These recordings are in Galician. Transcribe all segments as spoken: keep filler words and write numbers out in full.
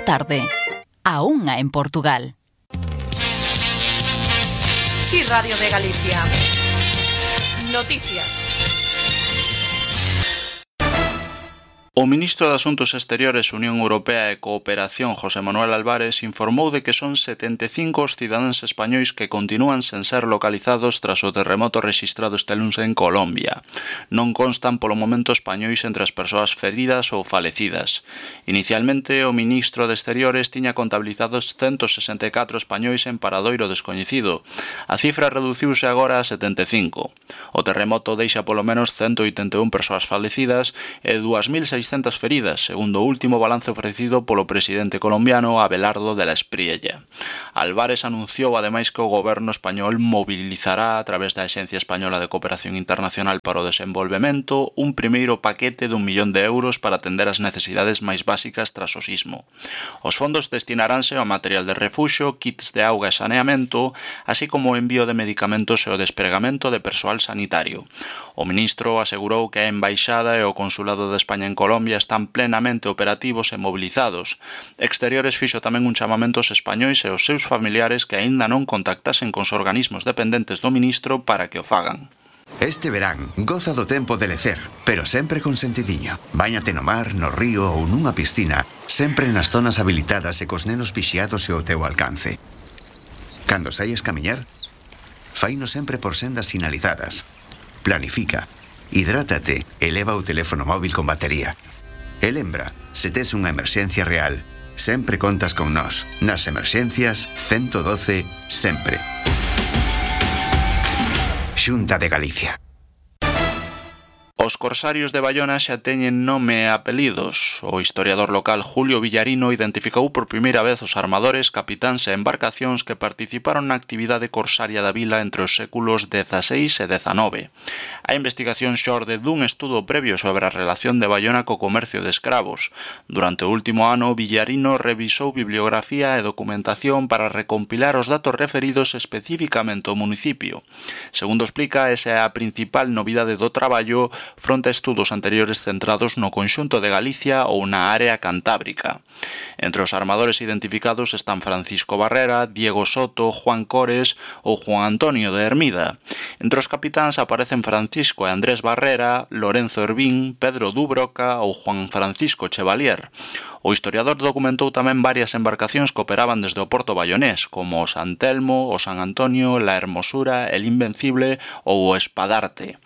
da tarde. A unha en Portugal. Sí, Radio de Galicia. Noticias. O ministro de Asuntos Exteriores, Unión Europea e Cooperación, José Manuel Álvarez, informou de que son setenta e cinco os cidadáns españois que continúan sen ser localizados tras o terremoto rexistrado este luns en Colombia. Non constan polo momento españois entre as persoas feridas ou falecidas. Inicialmente, o ministro de Exteriores tiña contabilizados ciento sesenta e catro españois en paradoiro descoñecido. A cifra reduciuse agora a setenta e cinco. O terremoto deixa polo menos ciento oitenta e un persoas falecidas e dúas mil seiscentas feridas, segundo o último balance ofrecido polo presidente colombiano Abelardo de la Espriella. Álvarez anunciou ademais que o goberno español mobilizará a través da Axencia Española de Cooperación Internacional para o Desenvolvemento un primeiro paquete dun millón de euros para atender as necesidades máis básicas tras o sismo. Os fondos destinaránse ao material de refuxio, kits de auga e saneamento, así como o envío de medicamentos e o despregamento de persoal sanitario. O ministro asegurou que a Embaixada e o Consulado de España en Colombia están plenamente operativos e mobilizados. Exteriores fixo tamén un chamamento aos españois e aos seus familiares que aínda non contactasen cos organismos dependentes do ministro para que o fagan. Este verán, goza do tempo de lecer, pero sempre con sentidiño. Báñate no mar, no río ou nunha piscina, sempre nas zonas habilitadas e cos nenos vixiados e ao teu alcance. Cando saias camiñar, faino sempre por sendas sinalizadas. Planifica, hidrátate e leva o teléfono móvil con batería. E lembra, se tes unha emerxencia real, sempre contas con nós. Nas emerxencias, ciento doce, sempre. Xunta de Galicia. Os corsarios de Baiona xa teñen nome e apelidos. O historiador local Julio Villarino identificou por primeira vez os armadores, capitáns e embarcacións que participaron na actividade corsaria da vila entre os séculos dezaseis e dezanove. A investigación xorde dun estudo previo sobre a relación de Baiona co comercio de escravos. Durante o último ano, Villarino revisou bibliografía e documentación para recompilar os datos referidos especificamente ao municipio. Segundo explica, esa é a principal novidade do traballo fronte a estudos anteriores centrados no conxunto de Galicia ou na área cantábrica. Entre os armadores identificados están Francisco Barrera, Diego Soto, Juan Cores ou Juan Antonio de Hermida. Entre os capitáns aparecen Francisco e Andrés Barrera, Lorenzo Hervín, Pedro Dubroca ou Juan Francisco Chevalier. O historiador documentou tamén varias embarcacións que operaban desde o porto bayonés, como o San Telmo, o San Antonio, la Hermosura, el Invencible ou o Espadarte.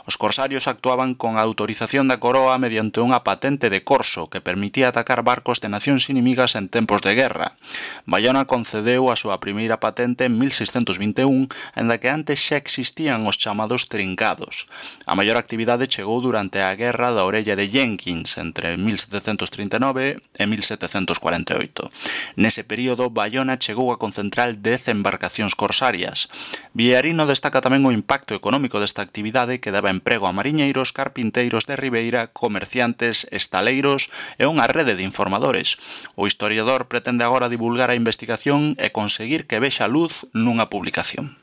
Os corsarios actuaban con a autorización da coroa mediante unha patente de corso que permitía atacar barcos de nacións inimigas en tempos de guerra. Baiona concedeu a súa primeira patente en mil seiscentos vinte e un, en da que antes xa existían os chamados trincados. A maior actividade chegou durante a Guerra da Orella de Jenkins entre mil setecentos trinta e nove e mil setecentos cuarenta e oito. Nese período, Baiona chegou a concentrar dez embarcacións corsarias. Villarino destaca tamén o impacto económico desta actividade que daba emprego a mariñeiros, carpinteiros de Ribeira, comerciantes, estaleiros e unha rede de informadores. O historiador pretende agora divulgar a investigación e conseguir que vexa luz nunha publicación.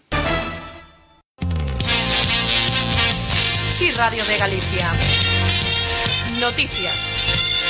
Sí, Radio de Galicia. Noticias.